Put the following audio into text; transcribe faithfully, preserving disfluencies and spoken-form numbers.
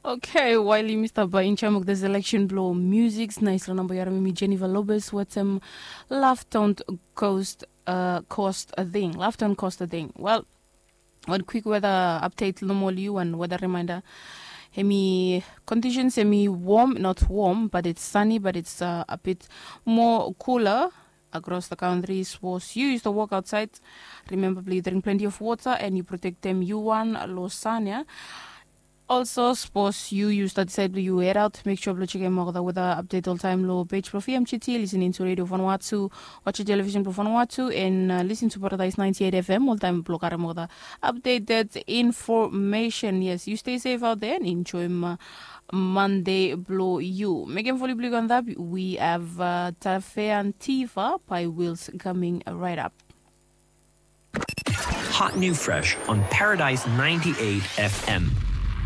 Okay, waili mista bai incham of the selection blo music, nais lo namba yaram mi Jennifer Lopez wetem Love Don't Cost uh, Cost a Thing. Love Don't Cost a Thing. Well, one quick weather update lo moli you and weather reminder. Hemi conditions hemi warm, not warm, but it's sunny, but it's uh, a bit more cooler across the country. Suppose you used to walk outside, remember please drink plenty of water and you protect them you one lo sun ya. Also, suppose you use that side you head out, make sure blo check em out the weather update all time lo page blo F M G T, listening to Radio Vanuatu, watch television blo Vanuatu, and uh, listen to Paradise ninety-eight F M all time blo karem out the updated information. Yes, you stay safe out there and enjoy uh, Monday blo you. Megan Foley Blue Gandab, we have uh, Tafe and Tiva by Wills coming right up. Hot new fresh on Paradise ninety-eight F M.